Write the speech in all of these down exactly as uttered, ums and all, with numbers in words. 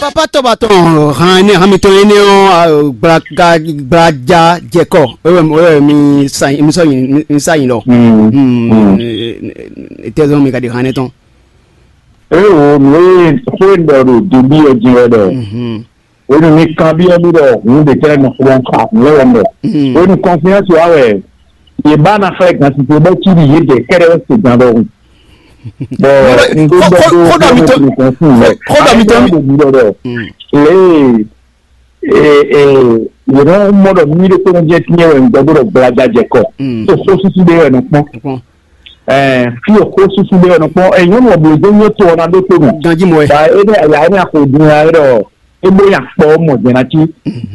Papa tɔba tɔn han énɛ́ han mitɔn énɛ́ ɔ́, gblaga gblaja jɛkɔ, wɛ mi sa mi sɔ mi sa yin lɔ. Tɛzɔn mi ka di han énɛ́ tɔn. Eo, nǔ e xó e ɖɔ ɖo Debí ɔ́ jɛ́n wɛ ɖɔ. Hwenu mi kanbyɔ́ mì ɖɔ hǔn ɖě tɛ́ nɔ xlɔ́ xá nǔ lɛ́ wɛ ɖɔ. Hwenu kɔnfiyánsi wa wɛ yě ba ná xlɛ́ gan titun bɔ cí ɖi yědɛɛ kɛ́ɖɛ́ wɛ se gan ɖɔhun. Bɔ un ɖó ɖɔ dó xɔdɔ mi tɔn xɔdɔ mi tɔn mi ɖɔ ɖɔ lě e yě nɔ mɔ ɖɔ mí ɖokpónɔ jɛ tinyɛ wɛ un gbɔ ɖɔ gblaja jɛ kɔ. Tó xó súsú ɖé wɛ nɔ kpɔn. Ɛɛ, fi e xó súsú ɖé wɛ nɔ kpɔn, ɛɛ, nyɔnu ɔblo dó nyɔ to ɔ́ ná ɖó to nɔ. Ganjí mɔ wɛ. Ba é ɖe aya é ní axɔ din ɛ ɖɔ é bó nya kpɔ mɔ jɛ ná cí.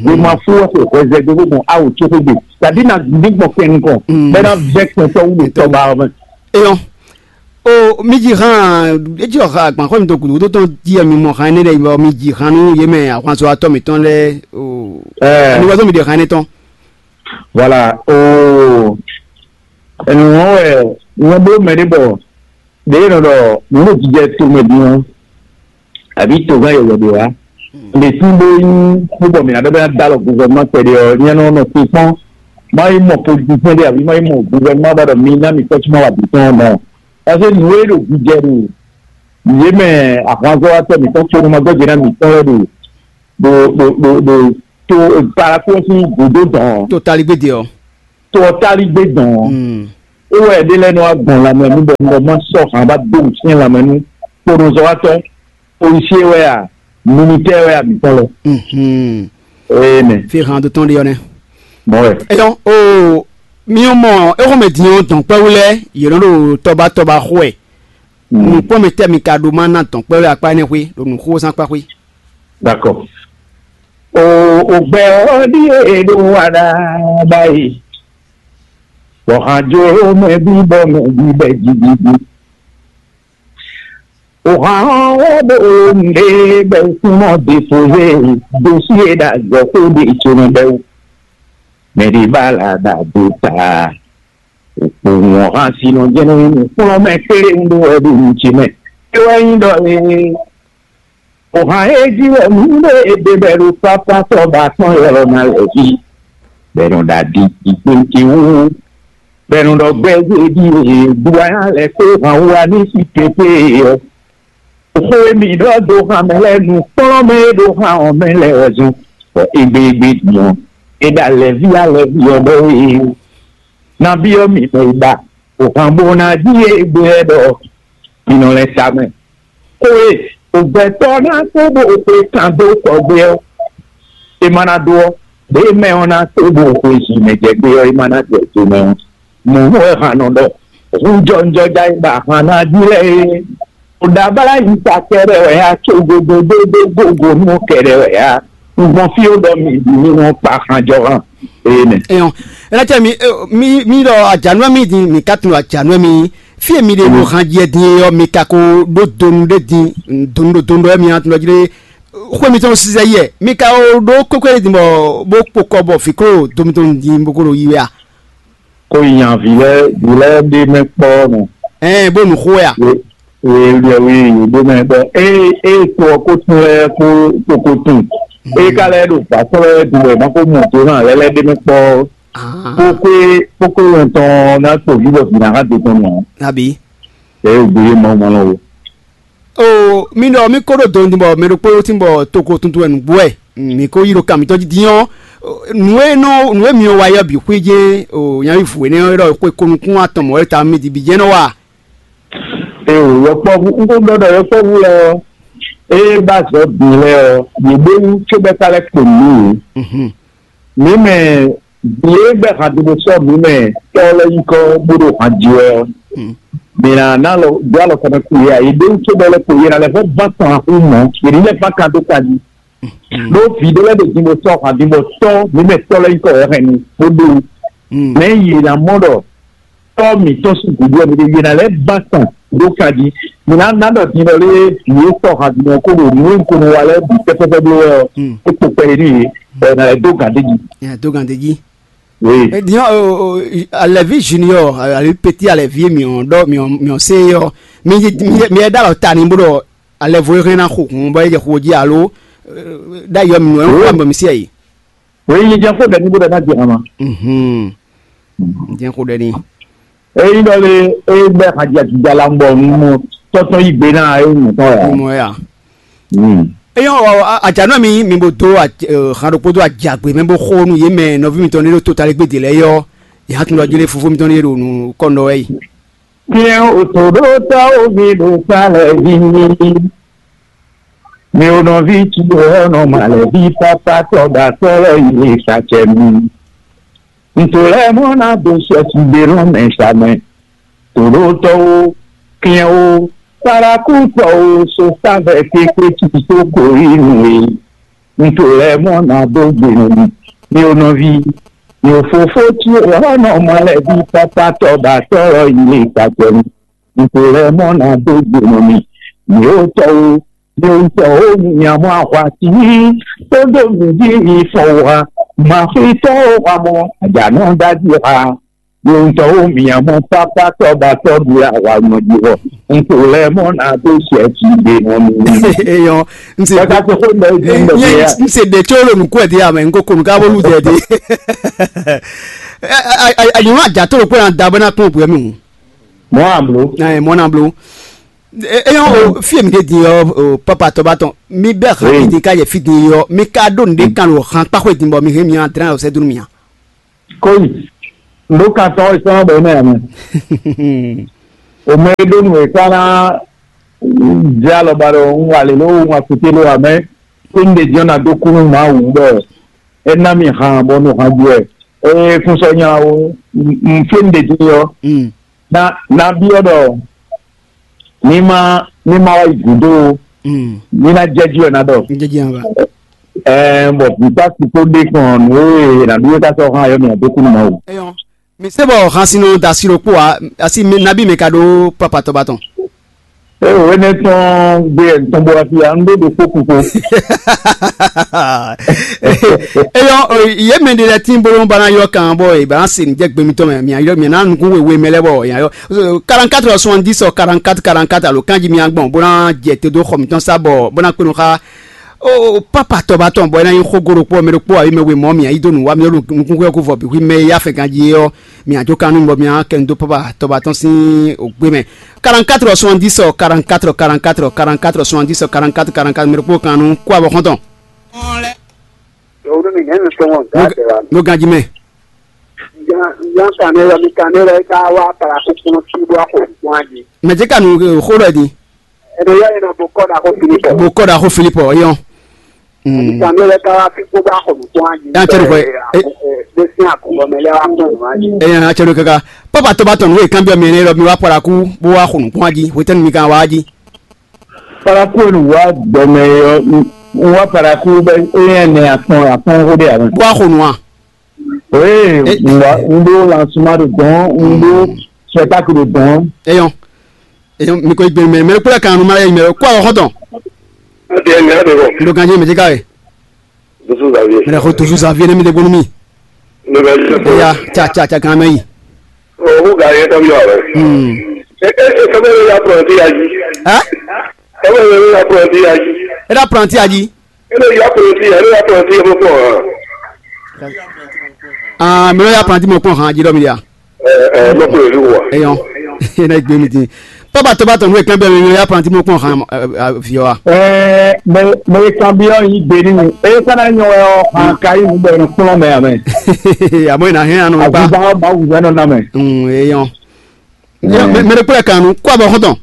Wema fún wɛ xo hwɛzɛ dó bó gbɔn awu tó xó gbe. Tàbí na ní gbɔn kpɛn nukɔn. Bɛ na vɛ kpɛn tɔ wú le tɔ ba ɔmɛ. Eyɔn. O mi ji hàn, etí ɔ̀ha àgbànxɔ́ mi tó gǔdúgúdú tɔn jí ɛ mi mɔ hàn énɛ́ ɖɛ bɔ mi ji hàn nú yě mɛ ahwanzɔ́watɔ́ mǐtɔn lɛ́ɛ o. Ɛɛ. Ani wá zɔ́ mi ɖe hàn énɛ́ tɔn. Voilà, o. Ɛnu wọn wɛ wọn bló mɛ ɖé bɔ ɖě nɔ ɖɔ nǔ ɖo jijɛ to mɛ din ɔ́, àbí to gán yɔyɔ ɖé wá. Mɛ tí bó nyí kpóbɔ mǐ ná ɖɔ bɛ́ ná dó alɔ guvɛrɛnman kpɛɖé ɔ́, nyɛ nɔ nɔ te kpɔ́n. Má yi mɔ politisɛn ɖé àbí má yi mɔ guvɛrɛnman bá ɖɔ mi ná mi kɔ́ sú má wa bǐ tɔn mɔ. Parce que nǔ e ɖo jijɛ ɖo yě mɛ ahwanzɔ́watɔ́ mǐtɔn kpónú ma gbɔ́jɛ ná mǐtɔn wɛ ɖo ɖo ɖo ɖo ɖo to paraku ɔ́ sín gǔdo dɔn. To taligbéde ɔ́. To ɔ́ taligbé dɔn. É wɛ ɖé lɛ́ɛ nɔ wá gbɔn lanmɛ nú bɔ un bɔ má sɔ́ hǎn bá dó wǔsyɛ́n lanmɛ nú kponɔzɔ́watɔ́, policier wɛ a, militaire wɛ a, mǐtɔn lɔ. Ee mɛ. Fi hàn tó tɔn ɖe ɔ́ nɛ. Mɔ wɛ. Eyɔn o mi ɔ́ mɔ éhɔn mɛ din ɔ́ dɔn kpɛ́wú lɛ́ɛ yě nɔ ɖo tɔba tɔba xo wɛ. Nǔkpɔ́n mɛ tɛ́ mi ka ɖó má ná dɔn kpɛ́wú lɛ́ɛ akpá énɛ́ xwé ɖo nǔxózán kpá xwé. D'accord. O o gbɛ ɔ́ ɖíe ɖó wa ɖa ɖ'ayǐ. Bɔ hǎn jló mɛ bí bɔ mɛ bí bɛ jiɖiɖi. O hǎn ɔ́ wɛ ɖo nǔɖé bɛ súnmọ́ dépozé dó sí e ɖo azɔ̌ xó ɖe tso mɛ bɛ́ wú. Mɛ ɖě ba la ɖa dó ta. Òkpowun ɔ́ hán sinɔ jɛ́n nú nǔkplɔ́nmɛ kpéɖé un ɖó wɛ ɖo nǔ ce mɛ. É wɛ nyí ɖɔ ee. Xo han e jí wɛ mǐ ɖe è ɖe bɔ è ɖo pápá sɔ́ ba tɔn ylɔ́ ná lɛ̌ jí, bɔ è nɔ ɖo aɖi jí gbéjé wú, bɔ è nɔ ɖɔ gbɛzé ɖíe, duwánya lɛ́ kpé han wú wá ní sí pépé ɔ́. Xó e mǐ ɖɔ dó han mɛ lɛ́ɛ nǔkplɔ́nmɛ e ɖo han ɔ́ mɛ lɛ́ɛ wɛ zɔ́n, bɔ égbé égbé din ɔ́, é ɖo alɛ̌ví alɛ̌ví ɔ́ ɖɔ wɛ. Nabí ɔ́ mǐ mɛ e ɖa, o han bó ná jí égbé wɛ ɖɔ mǐ nɔ lɛ́ sa mɛ. Xó e gbɛtɔ́ ná kó bó xwe kan dó kɔ gbé ɔ́, é ma ná ɖó ɔ́, ɖěe mɛ ɔ́ ná kó bó xwe zǐn mɛ jɛ gbé ɔ́, é ma ná jɛ do mɛ ɔ́. Mɔ̌ wɛ han nɔ ɖɔ hǔnjɔnjɔ́ ja e ba han ná jí lɛ́ɛ é. Ɖo ɖablá yi ta kɛɖɛ wɛ a, có gogo dó dó gogo nú kɛɖɛ wɛ a. Un gbɔn fí ó ɖɔ mi bǐ mi nɔ kpa hanjɔhan. Ee mɛ. Eyɔn, ɛnɛtɛ mi mi mi ɖɔ ajanú mi din mi ka tunɔ ajanú mi. Fí e mi ɖe ɖo han jɛ din ɔ́, mi ka ko ɖó donu ɖé din, donu ɖo donu ɖɔ mi tunɔ jí ɖé. Xwé mitɔn sizɛ yɛ mi ka ko ɖó kwékwé din bɔ bó kpo kɔ bɔ fǐ kó do mitɔn din bó kó ɖo yi wɛ a? Kó yi nya vǐ lɛ́ɛ vǐ lɛ́ɛ ɖé mɛ kpɔ́ mɛ. Ɛɛ bó nu xó wɛ a? Ye ye ye ye ɖé mɛ bɔ eye eye to ɔ́ ko tún lɛ́ɛ kó kókó tún. Eye ka lɛ́ɛ ɖo vǎ tɔn lɛ́ɛ ɖu wɛ má kó mɔ do hàn lɛ́ɛ lɛ́ɛ ɖé mɛ kpɔ́. Kókó kókó yɛn tɔn ná kpo vǐ bɔ vǐ ná hã do tɔn nɔ. Abi. Eye ò gbé yé Mawu ma lɔ o. O mi ɖɔ mi ko ɖo do din bɔ mɛ ɖokpó tin bɔ toko tuntun wɛ nǔgbó wɛ mi ko yi ɖo kan mitɔn jí din ɔ́. Nǔ e nɔ nǔ e mi wa yɔ bǐ xwé jɛ́n o nyaví vǔ énɛ́ ɔ́ ɖɔ xwe ko nukún atɔn mɔ̌ e ta mi di bǐ jɛ́n nɔ wa. Ee, yɔkpɔ́vú, un ko ɖɔ ɖɔ yɔkpɔ́vú lɛ́ɛ ɔ́, ée ba azɔ̌ bǐ lɛ́ɛ ɔ́, yě ɖó wú cóbɔ é ka lɛ́ kpo nǔ yě. Mǐ mɛ vǐ e gbɛ́ han dó bó sɔ́ mǐ mɛ tɔ́ lɛ́ɛ nyí kɔ́ bó ɖo han ji wɛ ɔ́, mǐ ná ná alɔ dó alɔ kɔmɛ kú yě a? Yě ɖó wú cóbɔ é lɛ́ kpo yě ná lɛ́ vɔ́ ván tɔn axú mɔ̌, yě ní lɛ́ ván kan dó kan jí. Ɖó vǐ ɖé lɛ́ɛ ɖo din bó sɔ́ han din bó tɔ́ mǐ mɛ tɔ́ lɛ́ɛ nyí kɔ́ wɛ hɛn nu bó ɖó wú. Mɛ̌ yě ná mɔ ɖɔ tɔ́ mǐtɔn sín gǔdo ɔ́, mi ɖe yě ná lɛ́ ba tɔn ɖó kan jí. Mi ná ná ɖɔ din ɖɔ lé vǐ e sɔ́ han din ɔ́ kó ɖo nǔ e un ko nɔ wa lɛ́ɛ bǐ pɛ́pɛ́pɛ́ bló wɛ ɔ́, é kpo kpɛ yě nú yě, bɔ è nǎ lɛ́ dó gǎn d'é jí. Nya dó gǎn d'é jí. Oui. Din ɔ́, alɛ̌ví junior ali petit alɛ̌ví e mǐ ɔ́ ɖɔ mǐ ɔ́ mǐ ɔ́ se é ɔ́, mi mi mi ɖó alɔ ta ni bó ɖɔ alɛvo e hɛn ná xo hǔn bɔ é jɛ xo jí alo ɖ'ayǐ ɔ́ mi nu ɛ ń xɔ mi bɔ mi sí ayǐ. Wěyi jɛ xó ɖɛ ní bó ɖɛ ná jɛ hama. Jɛ xó ɖɛ ní. Eyi ɖɔ le, eyi bɛ hajia jija la ŋgbɔ nu tɔtɔ yi gbe na eyi mɔtɔ ya. Mɔ ya. Eyɔn, ajanɔ mi mi bo dó han ɖokpó dó ajagbe mɛ bó xo nú yě mɛ nɔví mitɔn ní ɖo totalégbé dě lɛ́ɛ yɔ. Yě hã tún ɖɔ jlé fofó mitɔn ní ɖo nǔ kɔn ɖɔ wɛ yi. Tiens, autodotawo mi ɖo kpalɛ vi. Mi ò nɔví tu ɔ́ nɔ malɛ vi pápá tɔ́ ɖo akpɔ́ lɔ yi le sacɛ mi. Nto lɛ́ɛ mɔ ná dó sɛ́sí ɖé lɔn mɛ sa mɛ. Tòɖótɔ́wo, kɛ́nwo, parakútɔ́wo, sofá bɛ́ kpékpé tí tó korí nú e. Nto lɛ́ɛ mɔ ná dó gbe nú mi. Mi ò nɔví, mi ò fofó tí ɔ́ nɔ malɛ vi pápá tɔ́ ɖo akpɔ́ lɔ yi le sacɛ mi. Nto lɛ́ɛ mɔ ná dó gbe nú mi. Mi ò tɔ́wo, mi ò tɔ́wo, mi nya mɔ ahwa sí. Tó dó mi jí mi fɔ wa. Màxwítɔ́wo wa mɔ, àjǎnɔ ɖ'ájí ha. Mi ò tɔ́wo, mi nya mɔ pápá tɔ́ ba tɔ́ ɖu la wa nɔ jí wɔ. Nto lɛ́ɛ mɔ ná dó sɛ jí gbe nú mi. Eyɔn, n se Kaka to xó nɔ jí nɔ jí ya. N se ɖe tso lo nukú ɛdi amɛ, n ko konu ka bolu dɛ di. Ayi ma ja to lo kpɛ na da bɛ na kpɔn bɔ mi. Mɔ ablo. Ɛ mɔ na blo. Eyɔn o fi mi de di yɔ o papa tɔ ba tɔn mi bɛ xa mi di ka yɛ fi di yɔ mi ka ɖo nɖe kan o han kpa xwe di bɔ mi hɛn mi adran o sɛ dunu mi a. Kóyi, ɖó kan tɔn e sɔn bɔ mɛ amɛ. O mɛ e ɖó nǔ e ka ná jɛ alɔba ɖɔ un wa lě ló un wa kute ló amɛ. Kó un ɖe jɔn na dó kú nú Mawu bɔ é ná mi han bɔ nú han ju wɛ. Ee, fún sɔ nya o, un fé un ɖe din ɔ́. Na na byɔ́ ɖɔ ní má ní má wá yi gǔdo ó, ní ná jɛ jí wɛ ná ɖɔ. Ní jɛ jí wɛ ná ɖɔ. Ɛɛ, bɔ vǐ ká sixú ɖe kɔn nǔ e è nǎ ɖu é ká sɔ́ hán ayɔ́ mì ǎ dó kú nú Mawu. Eyɔn, mi se bɔ han sinu da siro kpó wa asi mi nabi mi ka ɖó papa tɔba tɔn. Eo énɛ́ tɔn gbé ẹ̀ tɔn bó wá fi ya ń ɖó ɖo kpó kúkú. Eyɔn, yé mɛ ɖe lɛ tín bolo bana yɔ kan bɔ e bana se jɛ gbemi tɔn mɛ mi ayɔ mi na nukun wewe mɛ lɛ bɔ ya yɔ quarante-quatre soixante-dix quarante-quatre quarante-quatre alo kanji mi agbɔn bó na jɛ te dó xɔ mi tɔn sa bɔ bó na kpenu xa. O papa tɔba tɔn bɔ ena yi xo goro kpɔ mɛ ɖokpɔ ayi mɛ we mɔ mi ayi do nu wa mi ɖo nukun xɔ ko vɔ bi hui mɛ ya fɛ ganji yɔ mi ajo kanu bɔ mi akɛ nu do papa tɔba tɔn sin ogbe mɛ. Quarante-quatre soixante-dix quarante-quatre quarante-quatre quarante-quatre soixante-dix quarante-quatre quarante-quatre mɛ ɖokpɔ kanu kó abɔ xɔntɔn. Owó mi nɛnu sɔngɔ nǹkan tẹ wa. Ló ganji mɛ. Yan yan kan ne yɔ mi kan ne yɔ ka wa para kúkúrú tí bó a kò fún wa di. Mɛ jẹ́ kanu xó lɔ di. Ẹnu yọ yẹn na bó kọ́ da kó Filipọ. Bó kọ́ da xó Filipọ yọ. Kan ne yɔ ka wa fi kó bá kò fún wa di. Yan cɛ lukɔ. Bó sin àkùnbọ mẹ lẹ wa kún wa di. Ẹ yan cɛ lukɔ kaka. Papa tó bá tɔ̀nù wé kan bí ọmọ yẹn lọ mi wá para kú bó wá kò nù kún wa di. Wétẹ́nu mi kan wá di. Paraku enu wa gbɔmɛ yɔ wa paraku bɛ eyan nɛ akpɔn akpɔn wo de awɛ. Bó a xo nu a. Ee, n wa n ɖo lansuma ɖo dɔn, n ɖo spectacle ɖo dɔn. Eyɔn. Eyɔn, mi ko igbe mɛ mɛ kúlẹ̀ kan nu ma yɛ mɛ kó awɔ xɔtɔn. Adi ɛni adi bɔ. N ɖo ganji mɛ jika ye. Dusu Xavier. Mɛ ko dusu Xavier ne mi de gbonu mi. Ne bɛ jɛ. Eya, tsa tsa tsa kan mɛ yi. O ko ga ye tɔ bi wa bɛ. Hmm. E e e sɛbɛn ya prɔnti ya ji. Hein? Sɛbɛn ya prɔnti ya ji. E da prɔnti ya ji. E le ya prɔnti ya, e le ya prɔnti ya mo kɔ. Ah, mi ya prɔnti mo kpɔn han ji dɔ mi ya. Ɛ ɛ mo kɔ le wa. Eyɔn. E na gbe mi din. Papa tó bá tɔnu e kan bɛ mi ya prɔnti mo kpɔn han vi wa. Ɛ mɛ mɛ kan bi ɔ yi gbe ni e kana nyɔ ɔ han ka yi mu bɛ ni kplɔn mɛ amɛ. Àmọ́ ìnáhẹ́ àánú mi pa. Àgùnbá ọba wùzẹ́ nọ namɛ. Eyɔn. Mɛ ɖe kplɔ́ kan nu kó abɔ xɔtɔn.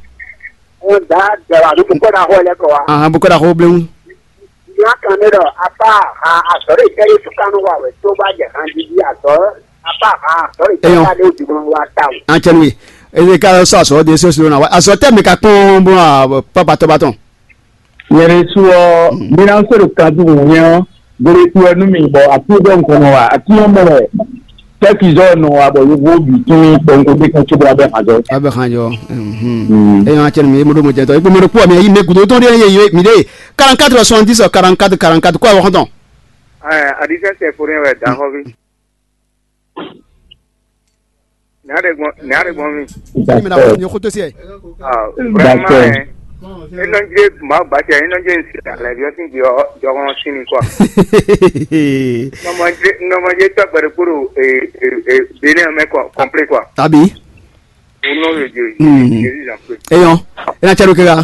Wọ́n dá dẹ̀rọ àbí kókó náà hó ẹlẹ́kọ̀ọ́ wa. Ahan bó kó da xó bléwu. Ìyá kan ní lọ apá ha àsọ̀rọ̀ ìkẹ́yẹ tó kánú wà wẹ̀ tó bá jẹ̀ hàn dídí àsọ̀rọ̀ apá ha àsọ̀rọ̀ ìkẹ́yẹ Eyɔn. Tó bá dé òjò wa ta o. An cɛ nui. Eye ka sɔ asɔ de sɔ sɔ na wa asɔ tɛ mi ka kpɔn bó na papa tɔ ba tɔn. Yɛrɛ su ɔ mina se ɖo kan dzi wònyɛ ɔ gbele tu ɛ nu mi bɔ ati ɖɔ nkɔnɔ wa ati ɔ mɔ wɛ tɛki zɔ nɔ wa bɔ yovo bi tún kpɔnko de kan tso bɔ abɛ hàn zɔ. Abɛ hàn yɔ. Eyɔn atsɛ mi mo ɖo mo jɛ tɔ ekpe mo ɖo kpɔ mi yi ne gudo tɔn de ye mi de quarante-quatre soixante-dix quarante-quatre quarante-quatre kó awɔ xɔntɔn. Ɛ adisɛ sɛ fo ne wɛ dan xɔ bi. Nɛ̌ a ɖe gbɔn nɛ̌ a ɖe gbɔn mi? Emi na wɔ nyɛ xótó sí ɛ. Ah, vraiment, hein. Enɔnje Mawu ba cɛ enɔnje n si alɛvi ɔ́ sín gbe ɔ́ jɔhɔn sín ni kɔ. Nɔmɔje nɔmɔje tɔgbɛ ɖokpó ɖo Benin mɛ kɔ kɔnplé kɔ. Abi. O nɔ le je. Jésus en pé. Eyɔn, ena cɛ ɖo kega.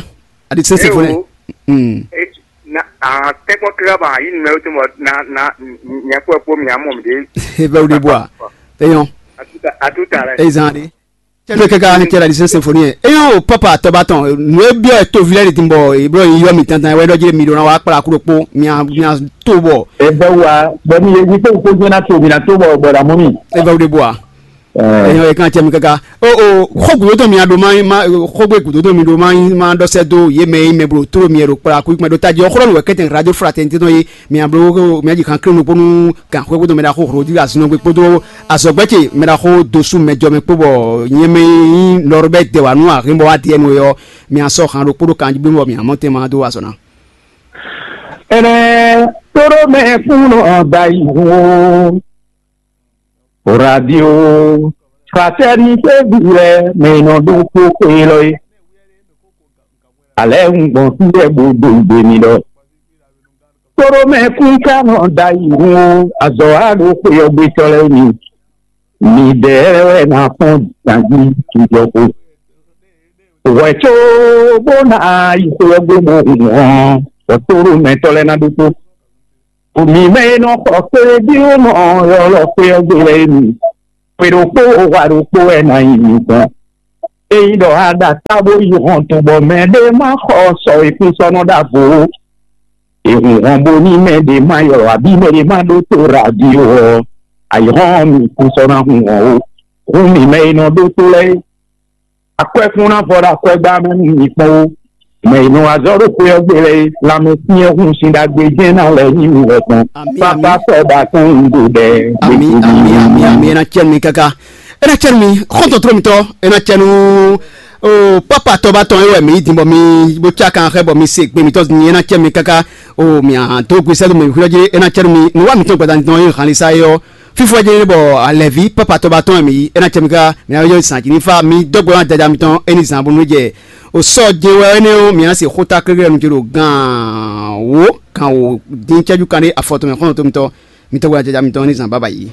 Adi sɛnsɛn fone. Na a tɛkpɔ kega ba yi numɛ to mɔ na na nyɛkpɔ kpo mi amɔ mi de. Ebe wo de bua. Eyɔn. Atuta atuta lɛ. Ezan de. Cɛ ɖo kega ni cɛ la di sɛnsɛn fone yɛ. Eyɔn o papa tɔba tɔn. Nu e biɔ e to vi lɛ de tin bɔ e blɔ yi yɔ mi tantan wɛ dɔ jɛ mi ɖo na wa kpla kuɖo kpo mi a mi a to bɔ. Ebe wa bɔ mi ye wi ko ko jɛ na to mi na to bɔ bɔ da mɔ mi. Ebe wo de bua. Eyɔn e kan cɛ mi kaka o o xɔ gǔdo tɔn mi a ɖo ma ma xɔgbé gǔdo tɔn mi ɖo ma ma ɖɔ sɛ do ye mɛ yi mɛ blo tló mi ɖo kpla kú kpɛ ɖo tají ɔxɔlɔ nù wɛ kɛtɛn radio fraternité tɔn ye mi a blo mi a ji kan kiri nukponu kan xɔ gbɔdɔ mɛ ɖa xɔ xɔ di azinɔ gbé kpódó azɔgbɛ ce mɛ ɖa xɔ dosu mɛ jɔ mɛ kpó bɔ nyɛ mɛ yi lɔrɔ bɛ dɛ wa nú ahin bɔ wa diɛ nu yɔ mi a sɔ han ɖo kpódó kan jí bɔ mi a mɔ tɛn ma do azɔ na. Ɛnɛ tóró mɛ kún nɔ da yi hun o. Radio Fraternité vǐ lɛ́ɛ mɛ e nɔ ɖó xó xwe élɔ́ é. Alɛ̌ un gbɔn fí lɛ́ɛ bó dó gbe mi ɖɔ. Tóɖó mɛ kún ka nɔ da yi hun ó, azɔ̌ wa ɖo xwe ɔ́ gbétɔ́ lɛ́ɛ mi. Midɛɛ wɛ ná fɔ́n ganjí jijɔxo. Hwɛ̌ có bó ná yi xwe ɔ́ gbe bó hun hɔn, bɔ tóɖó mɛtɔ́ lɛ́ɛ ná ɖokpó. Mǐ mɛ e nɔ xɔ kpéɖéɖíwúnɔ ɔ́ ylɔ́ xwé ɔ́ gbe lɛ́ɛ é mi. Xwe ɖokpó hwa ɖokpó wɛ ná nyí mi gbɔn. Ényí ɖɔ a ɖo atá bó yi hɔnto bɔ mɛɖé ma xɔ sɔ e kún sɔ́ nɔ ɖo avo ó, è hun hɔn bónú mɛɖé ma ylɔ́ abǐ mɛɖé ma ɖótó radio ɔ́, ayǐhɔ́n ɔ́ mi kún sɔ́ ná hun hɔn ó. Hǔn mǐ mɛ e nɔ ɖótó lɛ́ɛ é, akwɛ́kún ná vɔ ɖo akwɛ́gbá mɛ nú mi kpɔ́n ó. Mɛ e nɔ wá zɔ ɖo xwé ɔ́ gbe lɛ́ɛ é, lanmɛ syɛ́n hun sin ɖagbe jɛ́n ná lɛ́ nyí mi wɛ gbɔn. Amǐ, Pápá amǐ. Sɔ ɖo atɔ́n un ɖo ɖɛ. Ami, ami, ami, ami, ena cɛn mi kaka. Ena cɛn mi, xɔntɔn trɔ mitɔ, ena cɛn nu. O papa tɔ ba tɔn ewɛ mi din bɔ mi bo ca kan xɛ bɔ mi se gbe mitɔ ni ena cɛn mi kaka. O mi a do gbe sɛdo mi hwlɔ je ena cɛn mi. Nu wa mitɔ gbada ni tɔn e han li sa yɔ. Fifo je bɔ alɛvi papa tɔ ba tɔn mi ena cɛn mi kaka. Mi a yɔ san ji ni fa mi dɔgbo na jaja mitɔn eni zan bonu jɛ. O sɔ je wɛ ene o mi a se xota klegre nu je do gan wo kan wo din cɛju kan de afɔtɔ mi xɔntɔn mitɔ. Mi tɔgbo na jaja mitɔn eni zan baba yi.